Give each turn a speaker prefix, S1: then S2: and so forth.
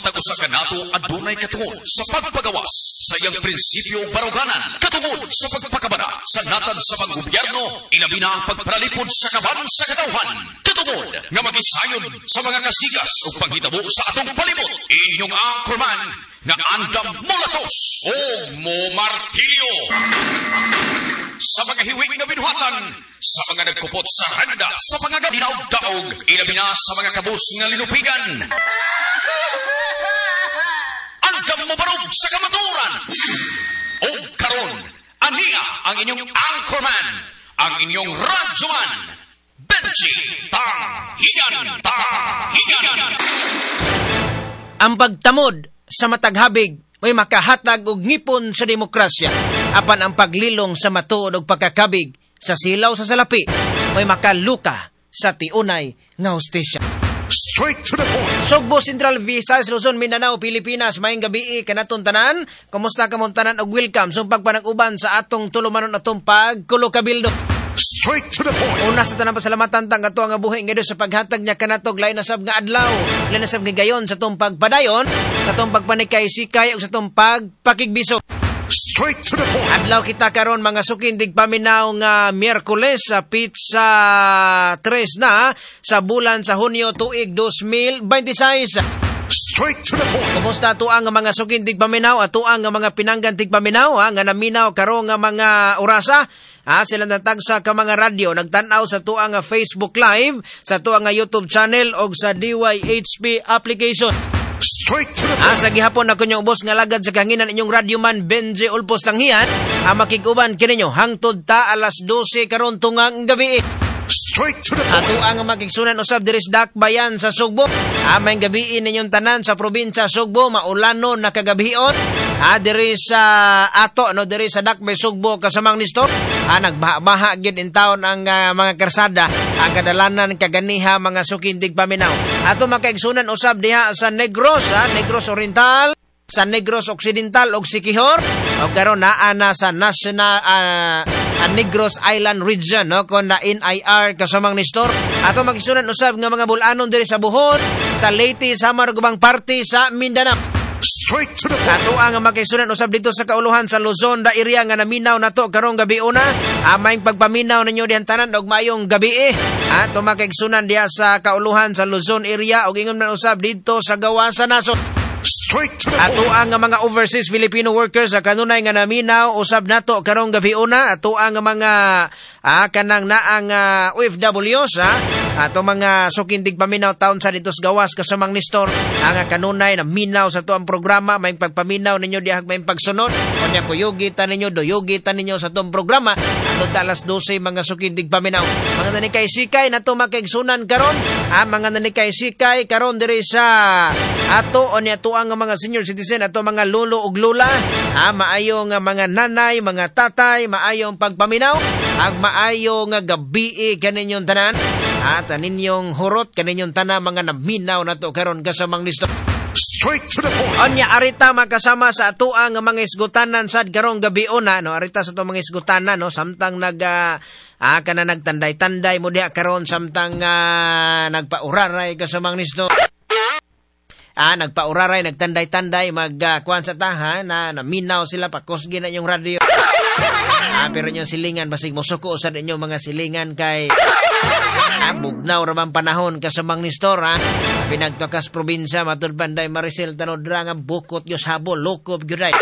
S1: Matag usa kanato adunay katungod sa pagpagawas sa iyang prinsipyo ug baruganan, katungod sa pagpakabana sa natad sa panggobyerno, ilabi na ang pagparalipod sa kaban sa katawhan, katungod nga magisayod sa mga kasikas ug panghitabo sa atong palibot. Inyong anchorman nga andam molatos o mo martilyo sa mga hiwi nga binuhatan, sa mga nagkupot sa randa, sa mga daog, ilabi na sa mga kabus nga linupigan. Andam mo barog sa kamatuoran. O karon, ania ang inyong anchorman, ang inyong radyoman, Benji Tanghigan, Tanghigan.
S2: Ang pagtamod sa matag habig may makahatag og ngipon sa demokrasya. Apan ang paglilong sa matuod og pagkakabig sa silaw sa salapi may makaluka sa tiunay nga hustisya.
S3: Straight to the point.
S2: Sugbo, Central Visayas, Luzon, Mindanao, Pilipinas, maayong gabii kanatong tanan. Kumusta kamong tanan og welcome sa pagpanag-uban sa atong tulumanon, atong pagkulo kabildo.
S3: Straight to the point.
S2: Una sa tanan, pasalamatan tang ato nga buhi nga Dios sa paghatag niya kanatog lain na sab nga adlaw, lain na sab nga gayon sa atong pagpadayon, sa atong pagpanikay sikay ug sa atong pagpakigbisog.
S3: Straight to the point.
S2: Adlaw kita karon, mga suking tigpaminaw, nga Miyerkules sa petsa 3 na sa bulan sa Hunyo, tuig 2026.
S3: Straight to the point.
S2: Kumusta ato ang mga suking tigpaminaw, ato ang mga pinanggan tigpaminaw ha, nga naminaw karon nga mga orasa? Ha, sila natagsa ka mga radyo, nagtan-aw sa tuang nga Facebook Live, sa tuang nga YouTube channel og sa DYHP application.
S3: Straight to the point.
S2: Asa gihapon ako inyong ubos nga lagad sa kahanginan, inyong radyoman Benji Ulpos Tanghian, ang makig-uban kininyo hangtod ta alas 12 karon tungang gabi.
S3: Straight to the point.
S2: Ato ang makigsunan usab diri sa Dakbayan sa Sugbo. Maayong gabii ninyong tanan sa probinsya Sugbo, maulano na kagabion. Diri sa ato no, diri sa Dakbay Sugbo, kasamang Nistor. Nagbaha-baha gyud in taon ang mga karsada, ang kadalanan kaganiha, mga suking tigpaminaw. Ato makaigsunan usab diha sa Negros, Negros Oriental, sa Negros Occidental ug Siquijor og karon naa na sa National Negros Island Region no, kon na NIR, kasamang Nestor. Ato magisunan usab nga mga bulanon diri sa Bohol, sa Leyte, Samar ug ubang parte sa Mindanao.
S3: Straight to the point.
S2: Ato ang makisunan usab dito sa kauluhan sa Luzon da area nga naminaw nato karong gabi una. Maayong pagpaminaw ninyo dihan tanan og maayong gabi eh. Ato makigsunan diha sa kauluhan sa Luzon area ug ingon man usab dito sa gawas sa nasod.
S3: Straight to the
S2: Ato
S3: point.
S2: ang mga overseas Filipino workers sa kanunay nga naminaw usab nato karong gabi una. Ato ang mga kanang naang OFWs ha. Ato mga suking tigpaminaw taon sa dito sa gawas, kasamang Nestor, ang kanunay na minaw sa ato ang programa. Maayong pagpaminaw ninyo diha, maayong pagsunod unya, kuyugi ta ninyo, duyugi ta ninyo sa atong programa ato ta alas 12, mga suking tigpaminaw. Mga nanikay sikay nato makaigsunan karon, mga nanikay sikay karon diri sa ato unya, ato ang mga senior citizen, ato mga lolo ug lola, maayo nga mga nanay, mga tatay, maayong pagpaminaw ag maayo nga gabi kaninyong tanan at ninyong hurot kaninyong tanan, mga naminaw nato karon, kasamang Nestor.
S3: Straight to the point.
S2: Onya arita makasama sa atoa nga mga isgutanan sad karong gabi una no. Arita sa ato mga isgutanan no, samtang nag kana nagtanday-tanday mo diha karon, samtang nagpauraray, kasamang Nestor. Nagpauraray, nagtanday-tanday, mag kuan sa taha na naminaw sila, pakusgi na inyong radio. Pero inyong silingan basig mosuko sa inyong mga silingan kay bugnaw ra bang panahon, kasamang Nestor ha. Pinagtakas probinsya matud Banday Maricel Tanodra nga bukot Diyos habo lokop gyud ay.